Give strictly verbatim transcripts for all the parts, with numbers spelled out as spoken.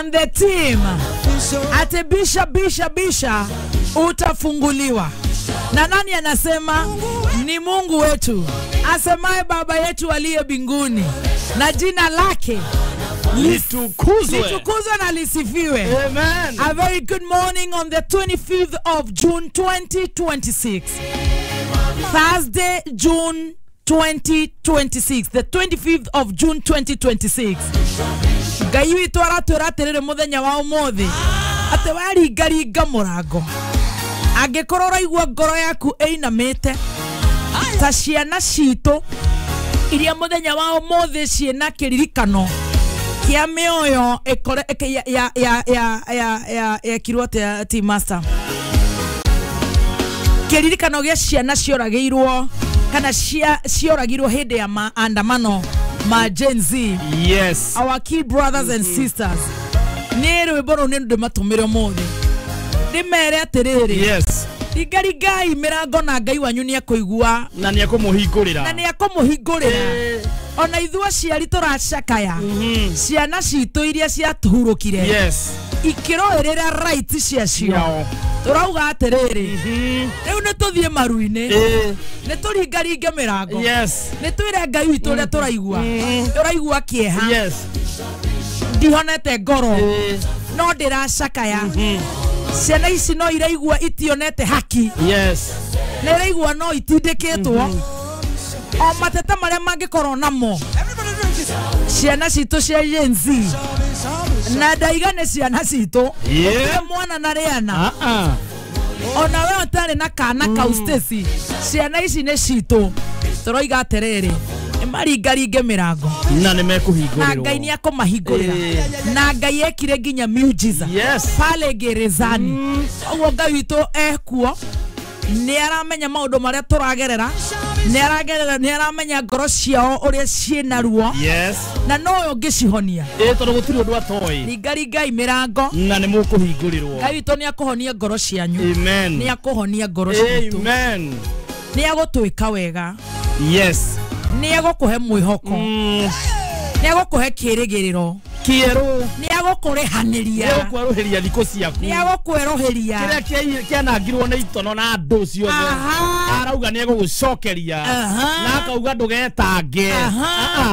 And the team ate bisha bisha bisha utafunguliwa. Na nani anasema? Ni Mungu wetu asemaye Baba yetu aliye mbinguni, na jina lake litukuzwe, litukuzwe na lisifiwe. Amen. A very good morning on the twenty-fifth of June twenty twenty-six. Thursday, June twenty twenty-six. The twenty-fifth of June twenty twenty-six. Ngai witũ aratwĩra atĩrĩrĩ mũthenya wa ũmũthĩ atĩ waringaringa mũrango, angĩkorwo ũraigua ngoro yaku ĩinamĩte ta ciana citũ iria mũthenya wa ũmũthĩ ciĩna kĩririkano kĩa mĩoyo ĩkore ya ya ya ya ya ya ekirwo atĩa team master, kĩririkano gĩa ciana cioragĩirwo kana cioragirwo hĩndĩ ya maandamano ma Gen Z. Yes, our key brothers and sisters, nĩ rwĩmbo rũu nĩ ndĩmatũmĩre ũmũthĩ ndĩmere atĩrĩrĩ, yes, ringaringai mĩrango na Ngai wanyu nĩ ekũigua na nĩ ekũmũhingũrĩra, na nĩ ekũmũhingũrĩra. Ona ithuĩ aciari tũracakaya ciana citũ iria ciatuhurũkire, yes, ikĩrũĩrĩra right ciacio, tũrauga atĩrĩrĩ, rĩu nĩ tũthiĩ maru-inĩ, nĩ tũringaringe mĩrango, yes, nĩ twĩre Ngai witũ ũrĩa tũraigua, tũraigua kĩeha, yes, ndihonete ngoro no ndĩracakaya, ciana ici no iraigua itionete haki, yes, na iraigua no itindĩkĩtwo o mateta marĩa mangĩkorwo namo ciana citũ cia Gen Z, na ndaiga nĩ ciana citũ gũtirĩ mwana na rĩana, ona we ũtarĩ na kana kau Stacy, ciana ici nĩ citũ. Tũroiga atĩrĩrĩ, nĩ maringaringe mĩrango na nĩ mekũhingũrĩrwo, na Ngai nĩ ekũmahingũrĩra, na Ngai ekire nginya miujiza yes pale gerezani. Ũguo Ngai witũ ekuo, nĩ aramenya maũndũ marĩa tũragerera, nĩ aragerera, nĩ aramenya ngoro ciao ũrĩa ciĩna ruo, yes, na nowe ũngĩcihonia. Ĩ tondũ gũtirĩ ũndũ atoĩ. Ringaringai mĩrango na nĩ mũkũhingũrĩrwo. Ngai witũ nĩ akũhonia ngoro cianyu. Amen. Nĩ akũhonia ngoro citũ. Amen. Nĩ agũtwĩka wega. Yes. Nĩ egũkũhe mwĩhoko. Nĩ egũkũhe kĩĩrĩgĩrĩro kĩerũ. Nĩ egũkũrĩhanĩria. Nĩ egũkwerũhĩria thikũ ciaku. Nĩ egũkwerũhĩria kĩrĩa kĩanangirwo nĩ itono na andũ ciothe. Arauga nĩ egũgũcokeria na akauga ndũgetange,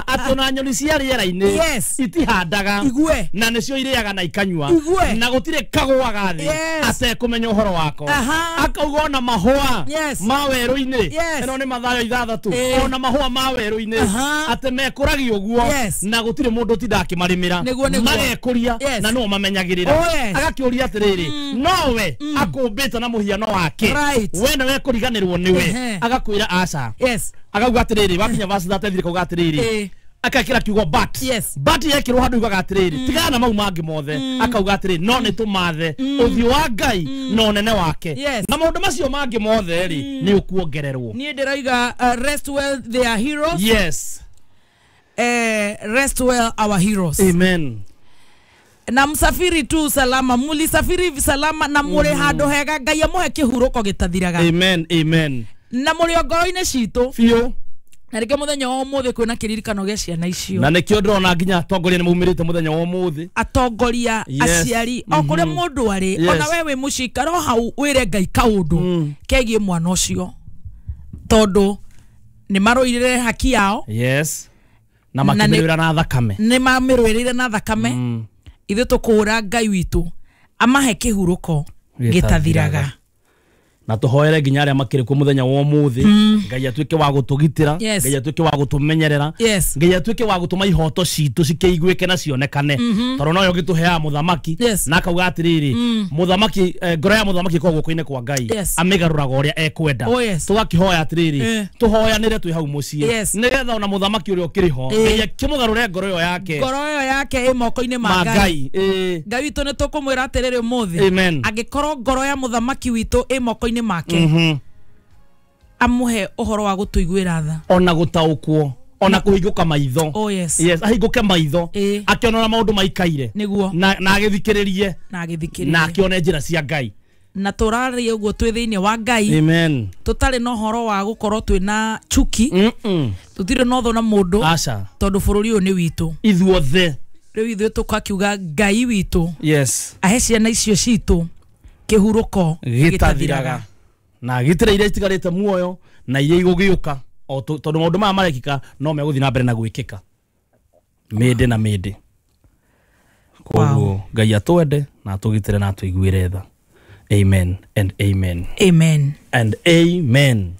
atĩ ona nyoni cia rĩera-inĩ yes itihandaga igue na nĩcio irĩaga na ikanyua igue na gũtirĩ kagũaga thĩ atekũmenya ũhoro wako. Akauga ona mahũa ma werũ-inĩ, ĩno nĩ Mathayo ithathatũ, ona mahũa ma werũ-inĩ atĩ mekũragio ũguo na gũtirĩ mũndũ ũtindaga akĩmarĩmĩra, magekũria na nĩo mamenyagĩrĩra. Agakĩũria atĩrĩrĩ, nowe akũmbĩte na mũhiano wake, we nĩwe ekũriganĩrwo nĩwe? Agakwĩra aca. Yes. Akauga atĩrĩrĩ, wakinya verse thirty-three akauga atĩrĩrĩ, akekĩra kiugo but, yes, but yekĩrwo handũ yugaga atĩrĩrĩ, tigana na mau mangĩ mothe, akauga atĩrĩrĩ, no nĩ tũmathe ũthiũ wa Ngai na ũnene wake, na maũndũ macio mangĩ mothe rĩ nĩ ũkuongererwo. Niĩ ndĩroiga rest well they are heroes. Yes. Eh, rest well our heroes. Amen. Na msafiri tu salama, mulisafiri salama na mũrĩ handũ hega, Ngai amũhe kĩhurũko gĩtathiraga. Amen, amen. Na mũrĩ ngoro-inĩ citũ biũ. Na rĩngĩ mũthenya wa ũmũthĩ kwĩna kĩririkano gĩa ciana icio, na nĩkĩo ndĩrona nginya atongoria nĩ maumĩrĩte mũthenya wa ũmũthĩ, atongoria, aciari, o kũrĩa mũndũ arĩ, ona we wĩ mũciĩ ikara o hau wĩre Ngai kaũndũ kegiĩ mwana ũcio, tondũ nĩ marũirĩre haki yao, yes, na makĩmĩrũĩra na thakame, nĩ mamĩrũĩrĩire na thakame. Ithuĩ tũkũũra Ngai witũ amahe kĩhurũko gĩtathiraga. Na tũhoere nginya arĩa makĩrĩ kuo mũthenya wa ũmũthĩ, Ngai atuĩke wa gũtũgitĩra, Ngai atuĩke wa gũtũmenyerera, Ngai atuĩke wa gũtũma ihoto citũ cikĩiguĩke na cionekane, tondũ noyo gĩtũheaga mũthamaki, na akauga atĩrĩrĩ, mũthamaki, ngoro ya mũthamaki ĩkoragwo guoko-inĩ kwa Ngai, amĩgarũraga ũrĩa ekwenda. Tũgakĩhoya atĩrĩrĩ, tũhoyanĩre twĩ hau mũciĩ, nĩgetha ona mũthamaki ũrĩa ũkĩrĩ ho Ngai akĩmũgarũre ngoro ĩyo yake, ngoro ĩyo yake ĩ moko-inĩ ma Ngai. Ngai witũ nĩ tũkũmwĩra atĩrĩrĩ ũmũthĩ, angĩkorwo ngoro ya mũthamaki witũ ĩ moko-inĩ make, amuhe ũhoro wa gũtũiguĩra tha, ona gũtaũkwo, ona kũhingũka maitho. Oh yes. Yes, ahingũke maitho akĩona ũrĩa maũndũ maikaire, nĩguo, na agĩthikĩrĩrie, na agĩthikĩrĩrie, na akĩone njĩra cia Ngai. Na tũraria ũguo twĩ thĩinĩ wa Ngai. Amen. Tũtarĩ na ũhoro wa gũkorwo twĩna chuki, tũtirĩ na ũthũ na mũndũ, aca, tondũ bũrũri ũyũ nĩ witũ ithuothe. Rĩu ithuĩ tũkakiuga Ngai witũ yes ahe ciana icio citũ kĩhurũko gĩtathiraga na gitire iria itigarĩte muoyo na iria igũgĩũka o tondũ maũndũ maya marekĩka no megũthiĩ na mbere na gwĩkĩka mĩndĩ na mĩndĩ. Koguo Ngai atwende na atũgitĩre na atũiguĩre tha. Amen and amen. Amen and amen.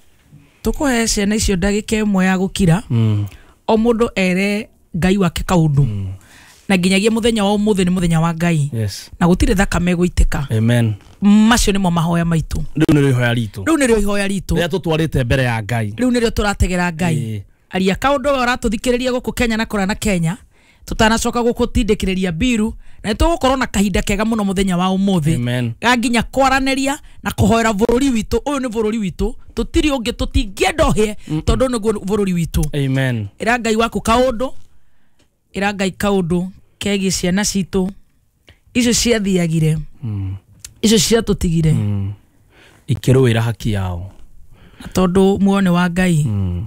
Tũkũhe ciana icio ndagĩka ĩmwe ya gũkira mm. o mũndũ ere Ngai wake kaũndũ mm. na nginyagia mũthenya wa ũmũthĩ nĩ mũthenya wa Ngai yes. na gũtirĩ thakame ĩgũitĩka. Amen. Macio nĩmo mahoya maitũ. Rĩu nĩrĩo ihoya ritũ. Rĩu nĩrĩo ihoya ritũ rĩrĩa tũtwarĩte mbere ya Ngai. Rĩu nĩrĩo tũrategera Ngai. Aria kaũndũ we ũratũthikĩrĩria gũkũ Kenya na kũrĩa na Kenya tutanacoka gũkũtindĩkĩrĩria mbiru na nĩtũgũkorwo na kahinda kega mũno mũthenya wa ũmũthĩ ga nginya kwaranĩria na kũhoera bũrũri witũ. Ũyũ nĩ bũrũri witũ, tũtirĩ ũngĩ, tũtingĩenda ũhĩe tondũ nĩguo bũrũri witũ. Amen. Ĩra Ngai waku kaũndũ, ĩra Ngai kaũndũ kegiĩ ciana citũ icio ciathiagire mm. icio ciatũtigire mm. ikĩrũĩra haki yao, na tondũ muoyo nĩ wa Ngai mm.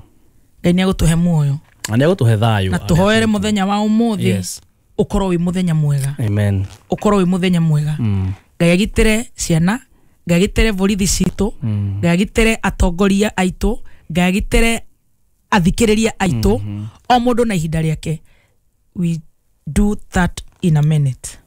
Ngai nĩegũtũhe muoyo na nĩegũtũhe thayũ na tũhoere mũthenya wa ũmũthĩ yes. ũkorwo wĩ mũthenya mwega. Amen. Ũkorwo wĩ mũthenya mwega. mm. Ngai agitĩre ciana, Ngai agitĩre borithi citũ, mm. Ngai agitĩre atongoria aitũ, Ngai agitĩre athikĩrĩria aitũ, mm -hmm. o mũndũ na ihinda rĩake. We do that in a minute.